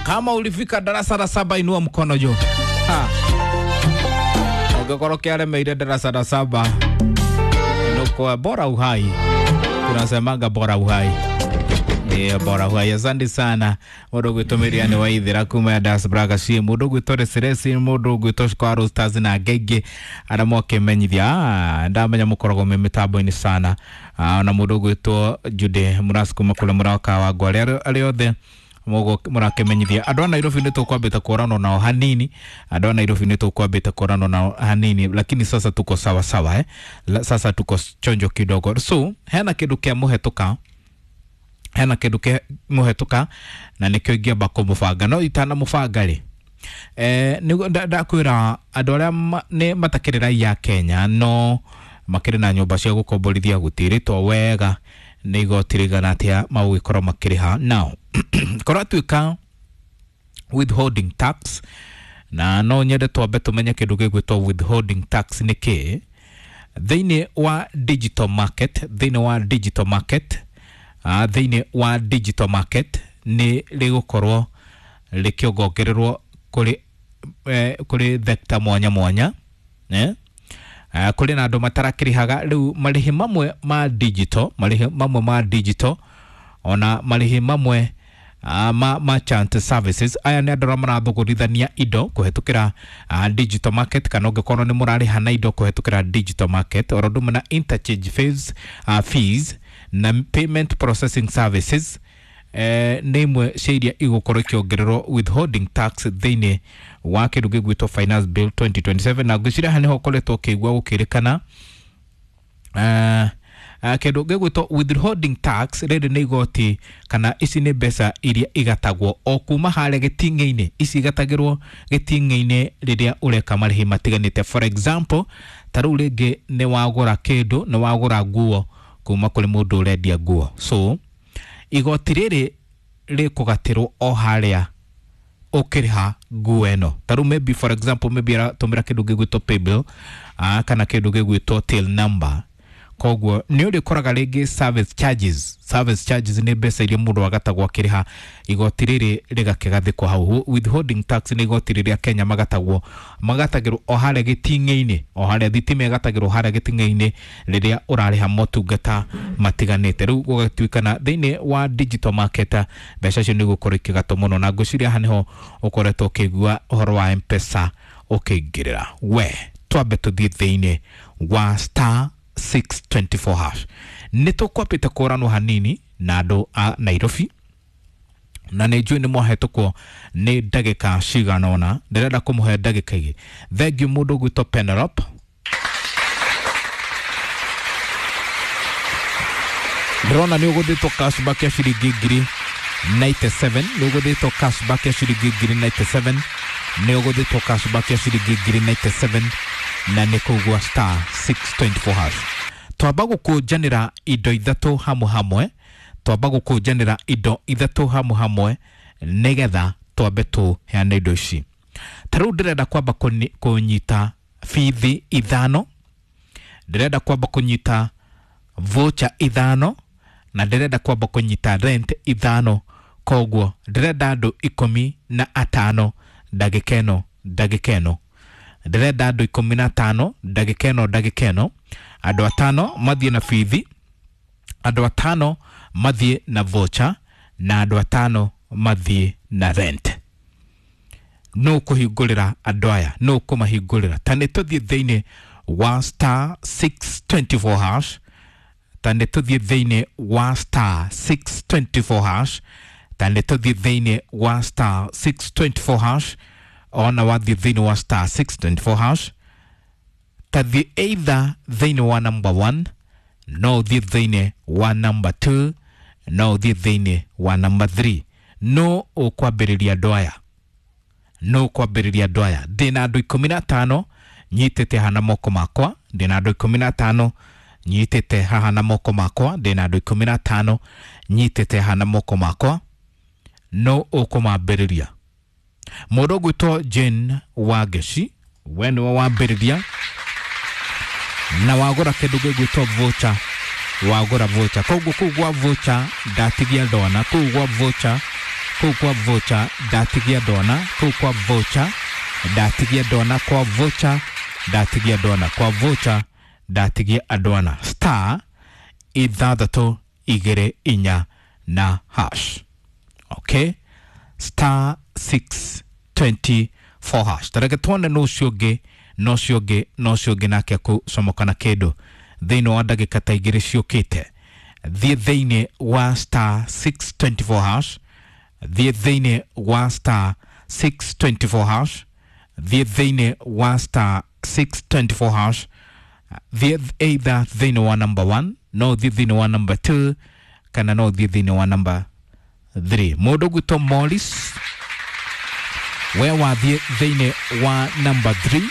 Kama ulifika darasa la saba inua mkono juu. Ũngĩkorwo kĩaremeire darasa la saba nuko bora uhai, tunasemanga bora uhai. Yeah, bora uhai. Asante sana mũndũ ũgwĩtwo Miriam Waithera kuma ya Das Braga ci mũndũ ũgwĩtwo Reseresi mũndũ ũgwĩtwo Square Stars na angĩ arĩa mwakĩmenyithia ndamenya mũkoragwo me mĩtambo-inĩ sana na mũndũ ũgwĩtwo Jude Mũras kuma kũrĩa mũraka wa Ngwale arĩa othe mũrakĩmenyithia andũ a Nairobi nĩ tũkwambĩte kũranwo nao hanini andũ a Nairobi nĩ tũkwambĩte kũranwo nao hanini lakini sasa tuko sawa sawa eh? Sasa tuko chonjo kidogo so hena kĩndũ kĩa mũhetũka hena kĩndũ kĩa mũhetũka na nĩkĩo ingĩamba kũmũbanga no itanamũbanga rĩ ndakwĩra andũ arĩa nĩ matakĩrĩ raia a Kenya no makĩrĩ na nyũmba cia gũkomborithia gũtirĩtwo wega nĩ igoti rĩigana atĩa magũgĩkorwo makĩrĩha now kũratuĩka withholding tax na no nyende twambe tũmenye kĩndũ gĩgwĩtwo withholding tax nĩ kĩĩ thĩinĩ wa digital market thĩinĩ wa digital market thĩinĩ wa digital market nĩ rĩgũkorwo rĩkĩongongererwo kũrĩ kũrĩ thekta mwanya mwanya eh? Kũrĩ na andũ matarakĩrĩhaga rĩu marĩhi mamwe ma digital marĩhi mamwe ma digital ona marĩhi mamwe ma merchant services aya nĩ andũ arĩa marathũgũrithania indo kũhetũkĩra digital market kana ũngĩkorwo nĩ mũrarĩha na indo kũhetũkĩra digital market oro ũndũ ũmwe na interchange fees, fees na payment processing services nĩ imwe cia iria igũkorwo ikĩongererwo withholding tax thĩinĩ wa kĩndũ gĩgwĩtwo finance bill 2027 na ngwĩciria haha nĩho ũkoretwo ũkĩigua gũkĩrĩkana kĩndũ gĩgwĩtwo withholding tax rĩrĩ nĩ igoti kana ici nĩ mbeca iria igatagwo o kuma harĩa gĩting'ĩ-inĩ ici igatagĩrwo gĩting'ĩ-inĩ rĩrĩa ũreka marĩhi matiganĩte for example ta rĩu rĩngĩ nĩ wagũra kĩndũ nĩ wagũra nguo kuma kũrĩ mũndũ ũrendia nguo so igoti rĩrĩ rĩkũgatĩrwo o harĩa ũkĩrĩha nguo ĩno ta rĩu maybe for example maybe aratũmĩra kĩndũ gĩgwĩtwo paybill kana kĩndũ gĩgwĩtwo till number koguo nĩ ũrĩkoraga rĩngĩ service charges service charges nĩ mbeca iria mũndũ agatagwo akĩrĩha igoti rĩrĩ rĩgakĩgathĩkwo hau withholding tax nĩ igoti rĩrĩa Kenya magatagwo magatagĩrwo o harĩa gĩting'ĩ-inĩ o harĩa thitima ĩgatagĩrwo harĩa gĩting'ĩ-inĩ rĩrĩa ũrarĩha motungata matiganĩte rĩu gũgatuĩkana thĩinĩ wa digital market mbeca icio nĩ igũkorwo ikĩgatwo mũno na ngwĩciria haha nĩho ũkoretwo ũkĩigua ũhoro wa M-Pesa ũkĩingĩrĩra we twambe tũthiĩ thĩinĩ wa star 624 hash nĩ tũkwambĩte kũranwo hanini na andũ a Nairobi na nĩ njũĩ nĩ mwahetũkwo nĩ ndagĩka cigana ũna ndĩrenda kũmũhe ndagĩka igĩ thengiũ mũndũ ũgwĩtwo Penelope ndĩrona nĩ ũgũthĩtwo cashback ya ciringi ngiri 97 nĩ ũgũthĩtwo cashback ya ciringi ngiri 97 nĩ ũgũthĩtwo cashback ya ciringi ngiri 97 na nĩ kũu gwa star 624 hash twamba gũkũnjanĩra indo ithatũ hamwe hamwe twamba gũkũnjanĩra indo ithatũ hamwe hamwe nĩgetha twambe tũheane indo ici ta rĩu ndĩrenda kwamba kũnyita bithi ithano ndĩrenda kwamba kũnyita voucher ithano na ndĩrenda kwamba kũnyita rent ithano koguo ndĩrenda andũ 15 ndagĩka ĩno ndagĩka ĩno ndĩrenda andũ 15 ndagĩka ĩno ndagĩka ĩno andũ atano mathiĩ na bithi andũ atano mathiĩ na voucher na andũ atano mathiĩ na rent no kũhingũrĩra andũ aya no kũmahingũrĩra ta nĩ tũthiĩ thĩinĩ wa star 624 hash ta nĩ tũthiĩ thĩinĩ wa star 624 hash ta nĩ tũthiĩ thĩinĩ wa star 624 hash ona wathiĩ thĩinĩ wa star 624 hash tathiĩ either thĩinĩ wa number 1 no ũthiĩ thĩinĩ wa number 2 no ũthiĩ thĩinĩ wa number 3 no ũkwambĩrĩria andũ aya no ũkwambĩrĩria andũ aya ndĩna andũ 15 nyitĩte haha na moko makwa ndĩna andũ 15 nyitĩte haha na moko makwa ndĩna andũ 15 nyitĩte haha na moko makwa no ũkũmambĩrĩria mũndũ ũgwĩtwo Jane Wangeci we nĩwe wambĩrĩria na wagũra kĩndũ gĩgwĩtwo voucher wagũra voucher koguo kũu gwa voucher ndatigia ndona kũu gwa voucher Kũu kwa voucher ndatigia ndona, kũu kwa voucher ndatigia ndona, kwa voucher ndatigia ndona, kwa voucher ndatigia andwana. Star 6 2 4 na hash. Okay, star 624 hash. Tareke tuone no ũcio ũngĩ, no ũcio ũngĩ, no ũcio ũngĩ nake akũcomoka na kĩndũ thĩinĩ wa ndagĩka ta igĩrĩ ciũkĩte. Thiĩ thĩinĩ wa star 624 hash, thiĩ thĩinĩ wa star 624 hash, thiĩ thĩinĩ wa star 624 hash, thiĩ either thĩinĩ wa number 1, no thiĩ thĩinĩ wa number 2, kana no thiĩ thĩinĩ wa number 3. Mũndũ gwitũ Morris, we wathiĩ thĩinĩ wa number 3,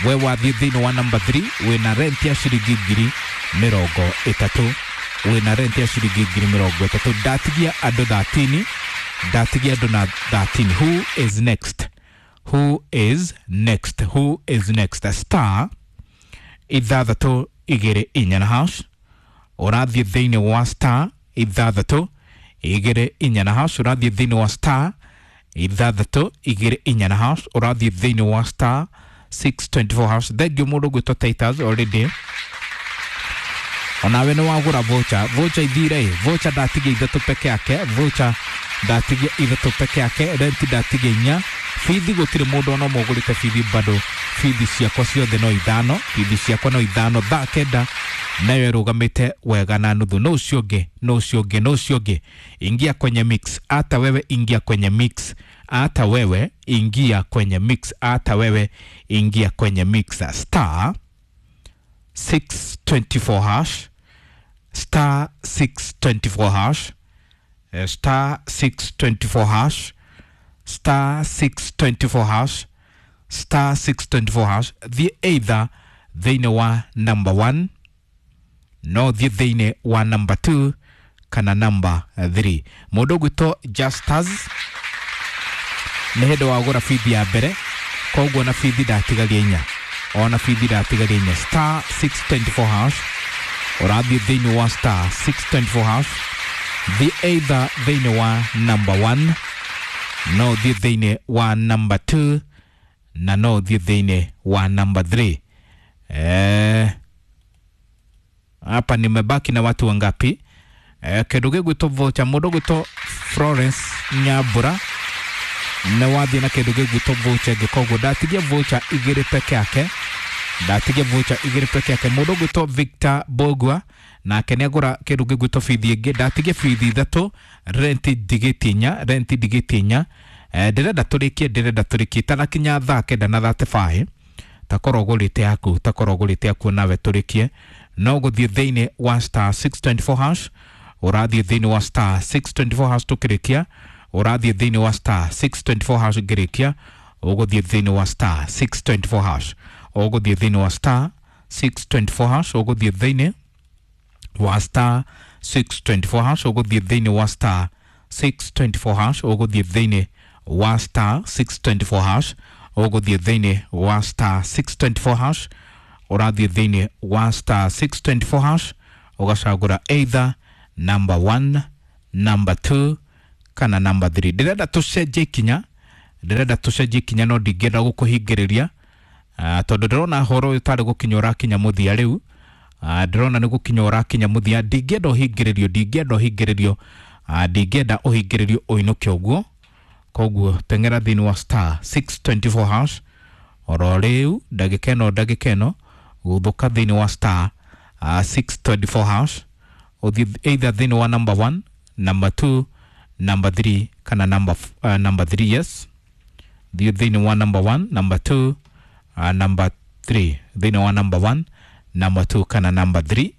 we wathiĩ thĩinĩ wa number 3 wĩna rent ya ciringi 30,000, wĩna rent ya ciringi 30,000. Ndatigia andũ 13, ndatigia andũ na 13. Who is next? Who is next? Who is next? Star 6 2 4 na hash. Ũrathiĩ thĩinĩ wa star 6 2 4 na hash, ũrathiĩ thĩinĩ wa star 6 2 4 na hash, ũrathiĩ thĩinĩ wa star 624 hash. Thank you mũndũ gwĩtwo Titus already. Onawe nĩ wagũra voucher, voucher ithire, voucher ndatigia ithatũ peke yake, voucher ndatigia ithatũ peke yake, rent ndatigia inya, bithi gũtirĩ mũndũ ona ũmwe ũgũrĩte bithi bado. Bithi ciakwa ciothe no ithano, bithi ciakwa no ithano. Thaa 9 nayo ĩrũgamĩte wega na nuthu. No ũcio ũngĩ, no ũcio ũngĩ, no ũcio ũngĩ, ingia kwenye mix. Hata wewe ingia kwenye mix, hata wewe ingia kwenye mix, hata wewe ingia kwenye mix. Star 624 hash, star 624 hash, star 624 hash, star 624 hash, star 624 hash. Thiĩ either thĩinĩ wa number 1, no thiĩ thĩinĩ wa number 2 kana number 3. Mũndũ ũgwĩtwo Justus nĩ hĩndĩ wagũra bithi ya mbere, koguo na bithi ndatigaria inya, ona bithi ndatigaria inya. Star 624 hash, ũrathiĩ thĩinĩ wa star 624 hash, thiĩ either thĩinĩ wa number 1, no thiĩ thĩinĩ wa number 2, na no thiĩ thĩinĩ wa number 3. Hapa nimebaki na watu wangapi? Kĩndũ gĩgwĩtwo voucher, mũndũ ũgwĩtwo Florence Nyambura nĩ wathiĩ na kĩndũ gĩgwĩtwo voucher ĩngĩ, koguo ndatigia voucher igĩrĩ peke yake, ndatigia voucher igĩrĩ peke yake. Mũndũ ũgwĩtwo Victor Bogwa nake nĩ agũra kĩndũ gĩgwĩtwo bithi ĩngĩ, ndatigia bithi ithatũ, rent ndigĩtie inya, rent ndigĩtie inya. Ndĩrenda tũrĩkie, ndĩrenda tũrĩkie itanakinya thaa 9 na 35. Takorwo ũgũrĩte yaku, takorwo ũgũrĩte yaku nawe tũrĩkie. No gũthiĩ thĩinĩ wa star 624 hash, ũrathiĩ thĩinĩ wa star 624 hash tũkĩrĩkia, ũrathiĩ thĩinĩ wa star 624 hash ngĩrĩkia, ũgũthiĩ thĩinĩ wa star 624 hash, ũgũthiĩ thĩinĩ wa star 624 hash, ũgũthiĩ thĩinĩ wa star 624 hash, ũgũthiĩ thĩinĩ wa star 624 hash, ũgũthiĩ thĩinĩ wa star 624 hash, ũgũthiĩ thĩinĩ wa star 624 hash, ũrathiĩ thĩinĩ wa star 624 hash, ũgacagũra either number 1, number 2 kana number 3. Ndĩrenda tũcenjie ikinya, ndĩrenda tũcenjie ikinya, no ndingĩenda gũkũhingĩrĩria, tondũ ndĩrona horo ũyũ tarĩ gũkinya ũrakinya mũthia rĩu. Ndĩrona nĩ gũkinya ũrakinya mũthia, ndingĩenda ũhingĩrĩrio, ndingĩenda ũhingĩrĩrio, ndingĩenda ũhingĩrĩrio ũinũke ũguo. Koguo teng'era thĩinĩ wa star 624 hash oro rĩu ndagĩka ĩno, ndagĩka ĩno gũthũka thĩinĩ wa star 624 hash, ũthiĩ either thĩinĩ wa number 1, number 2, number 3 kana number 3. Yes, thiĩ thĩinĩ wa number 1, number 2, number 3, thĩinĩ wa number 1, number 2 kana number 3,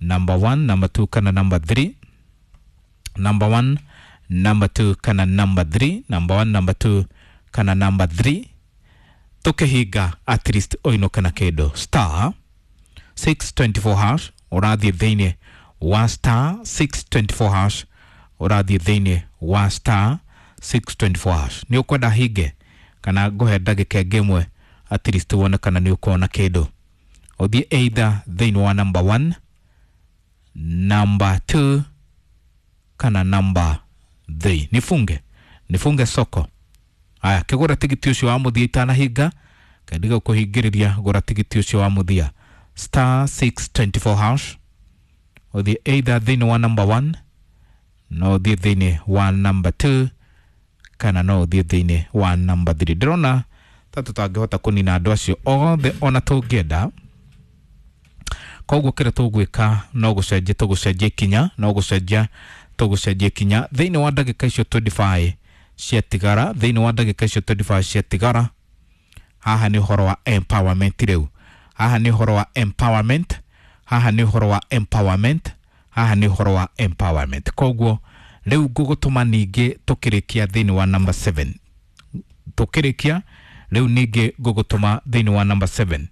number 1, number 2 kana number 3, number 1, number 2 kana number 3, number 1, number 2 kana number 3. Tũkĩhinga at least ũinũke na kĩndũ. Star 624 hash, ũrathiĩ thĩinĩ wa star 624 hash, ũrathiĩ thĩinĩ wa star 624 hash. Nĩ ũkwenda hinge kana ngũhe ndagĩka ĩngĩ ĩmwe at least wone kana nĩ ũkuona kĩndũ. Ũthiĩ either thĩinĩ wa number 1, number 2 kana number 3. Nifunge soko. Aya, kigura tigiti ucio wa muthia itanahinga kendiga kuhingiriria gura tigiti ucio wa muthia star 624 hash uthie either thiini wa number 1 no uthie thiini wa number 2 kana no uthie thiini wa number 3. Ndirona ta tutangihota kunina andu acio othe ona tungienda. Koguo kiria tugwika no gucenjia tugucenjia ikinya no gucenjia tugucenjia ikinya thiini wa ndagika icio 25 ciatigara thiini wa ndagika icio 25 ciatigara. Haha ni uhoro wa empowerment riu, haha ni uhoro wa empowerment, haha ni uhoro wa empowerment, haha ni uhoro wa empowerment. Koguo riu ngugutuma ningi tukirikia thiini wa number 7, tukirikia riu ningi ngugutuma thiini wa number 7,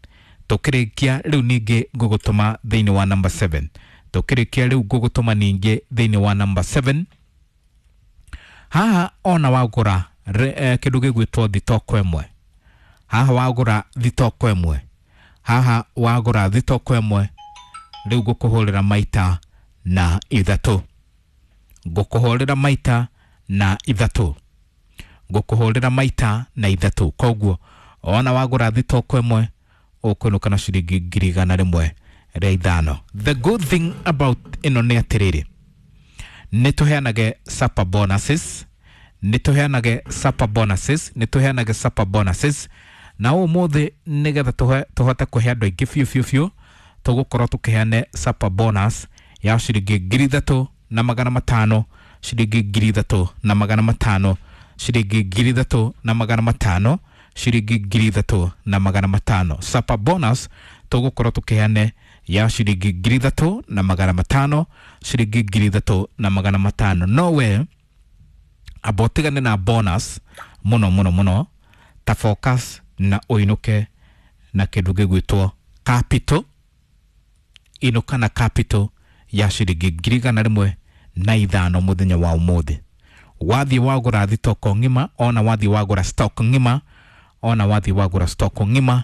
tukirikia riu ningi ngugutuma thiini wa number 7, tukirikia riu ngugutuma ningi thiini wa number 7. Haha ona wagura kindu gigwitwo thitoko imwe, haha wagura thitoko imwe, haha wagura thitoko imwe, riu ngukuhurira maita na ithatu, ngukuhurira maita na ithatu, ngukuhurira maita na ithatu. Koguo ona wagura thitoko imwe ukwinuka na ciringi 105. The good thing about ino ni atiriri, ni tuheanage supper bonuses, ni tuheanage supper bonuses, ni tuheanage supper bonuses. Na umuthi nigetha tuhote kuhe andu aingi biũ biũ biũ, tugukorwo tukiheane supper bonus ya ciringi 3500, ciringi 3500, ciringi 3500, ciringi 3500. Supper bonus tugukorwo tukiheane ya ciringi 3500, ciringi 3500. No we abotigane na bonus muno muno muno, ta focus na uinuke na kindu gigwitwo capital. Inuka na capital ya ciringi 105 muthenya wa umuthi. Wathi wagura thitoko ng'ima, ona wathi wagura stock ng'ima, ona wathi wagura stock ng'ima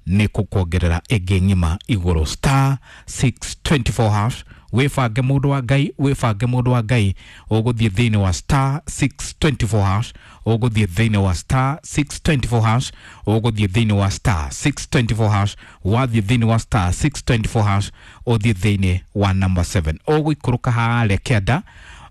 ni kukuongerera ĩngĩ ng'ima igũrũ. Star 624 hash. Wĩbange mũndũ wa Ngai, wĩbange mũndũ wa Ngai, ũgũthiĩ thĩinĩ wa star 624 hash, ũgũthiĩ thĩinĩ wa star 624 hash, ũgũthiĩ thĩinĩ wa star 624 hash, wathiĩ thĩinĩ wa star 624 hash, ũthiĩ thĩinĩ wa number 7. Ũgũikũrũka harĩa kĩanda,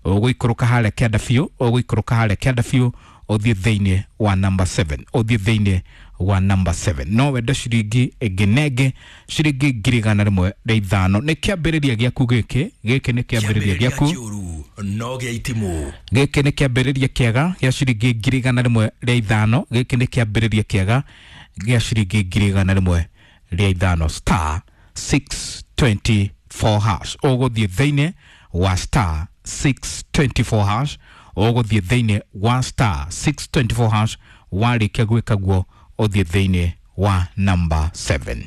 ũgũikũrũka harĩa kĩanda biũ, ũgũikũrũka harĩa kĩanda biũ, ũthiĩ thĩinĩ wa number 7, ũthiĩ thĩinĩ wa number 7. No wende ciringi ĩngĩ na ĩngĩ, ciringi 105. Nĩ kĩambĩrĩria gĩaku gĩkĩ, gĩkĩ nĩ kĩambĩrĩria gĩaku no gĩa itimũ, gĩkĩ nĩ kĩambĩrĩria kĩega gĩa ciringi 105. Gĩkĩ nĩ kĩambĩrĩria kĩega gĩa ciringi 105. Star 624 hash, ũgũthiĩ thĩinĩ wa star 624 hash, ũgũthiĩ thĩinĩ wa star 624 hash, warĩkia gwĩka guo ũthiĩ thĩinĩ wa number 7.